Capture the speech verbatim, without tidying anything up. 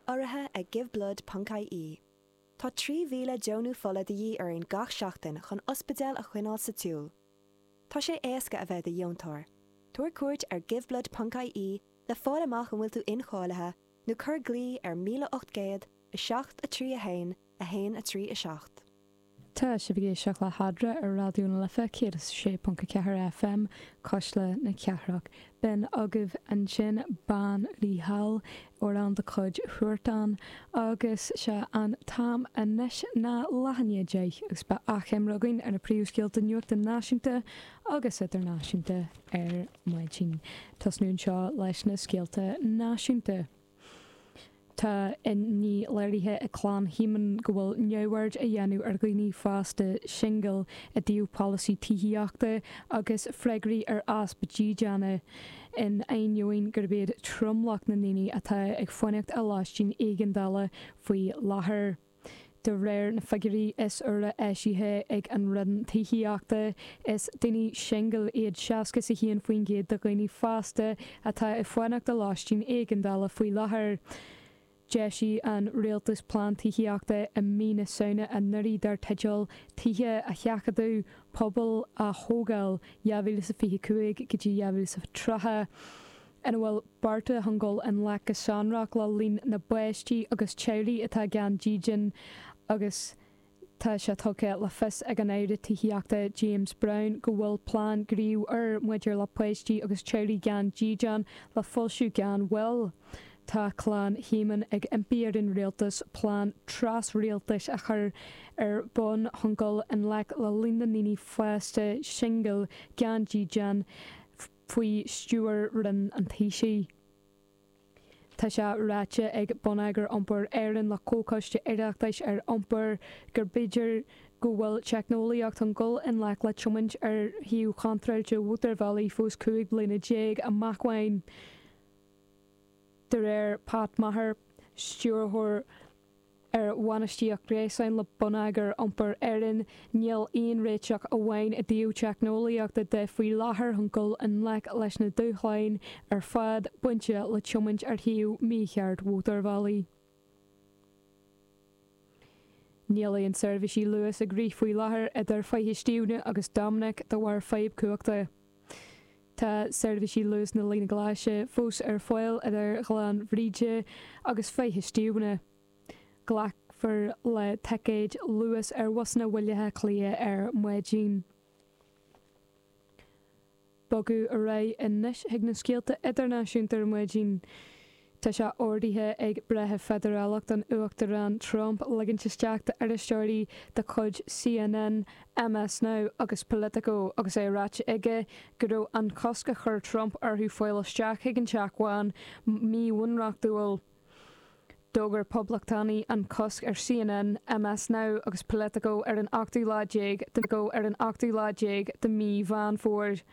Urraithe ag giveblood.ie. Tá trí mhíle deonú fola de dhíth orainn gach seachtain chun ospidéal a choinneáil sa tsiúl. Tá sé éasca a bheith i do dheontóir. Tabhair cuairt ar giveblood.ie le fáil amach an bhfuil tú incháilithe nó cuir glao ar míle ocht gcéad a seacht a trí a haon a haon a trí a seacht. Tá sibh ag éisteacht le hEadra ar Raidió na Life céad is sé ponc a ceathair FM Cuisle na Cathrach. B'in agaibh ansin Bean Rí Thall amhrán de chuid Huartan agus sé an t-am anois ná leath i ndiaidh a deich agus beidh achoimre againn ar na príomhscéalta nuachta náisiúnta agus idirnáisiúnta ar maidin. Tosnú anseo leis na scéalta náisiúnta. Tá inní léirithe ag clann Shíomóin go bhfuil neamhaird á dhéanamh ar dhaoine fásta singil i dtaobh polasaí tithíochta agus freagraí ar easpa dídeana in ainneoin gurb iad tromlach na ndaoine atá ag fanacht i lóistín éigeandála faoi láthair. De réir na figiúirí is úire eisithe ag an Roinn Tithíochta, is daoine singil iad seasca is a haon faoin gcéad de dhaoine fásta atá ag fanacht i lóistín éigeandála faoi láthair. D'eisigh an rialtas plean tithíochta i mí na Samhna anuraidh dar teideal Tithe a Sheachadadh Pobail a Thógáil dhá mhíle is fiche cúig go dtí dhá mhíle is tríocha, ina bhfuil bearta chun dul i ngleic go sonrach le líon na bpáistí agus teaghlaigh atá gan dídean agus tá sé tugtha le fios ag an Aire Tithíochta James Browne go bhfuil plean gnímh úr maidir le páistí agus teaghlaigh gan dídean le foilsiú gan mhoill. Tá clann Shíomóin ag impí ar an rialtas plean tras-rialtais a chur ar bun chun dul i ngleic le líon na ndaoine fásta singil gan dídean faoi stiúir Roinn an Taoisigh. Tá sé ráite ag Bonneagar Iompair Éireann le Comhchoiste Oireachtais ar Iompar gur b'fhéidir go bhfuil teicneolaíocht chun dul i ngleic le tiomáint ar thaobh contráilte mhótarbhealaí fós cúig bliana déag amach uainn. De réir Pat Maher, stiúrthóir ar bhainistíocht gréasáin le Bonneagar Iompair Éireann, níl aon réiteach amháin i dtaobh teicneolaíochta de faoi láthair chun dul i ngleic leis na dúshláin ar fad bainte le tiomáint ar thaobh mícheart mhótarbhealaí. Níl aon seirbhísí Luas ag rith faoi láthair idir Faiche Stiabhna agus Dominic de bharr fadhb cumhachta. Tá seirbhísí Luas na Líne Glaise fós ar fáil idir Ghleann Bhríde agus Faiche Stiabhna. Glacfar le ticéid Luas ar bhusanna Bhaile Átha Cliath ar maidin. Bogadh ar aghaidh anois chuig na scéalta idirnáisiúnta ar maidin. Tá sé ordaithe ag breitheamh feidearálach don Uachtarán Trump ligint isteach d'iriseoirí de chuid CNN, MS Now agus Politico agus é ráite aige go raibh an cosc a chuir Trump orthu fáil isteach chuig an Teach Bán míbhunreachtúil. D'fhógair Poblachtánaigh an cosc ar CNN, MS Now agus Politico ar an ochtú lá déag de ar an ochtú lá déag de mhí Mheán Fómhair.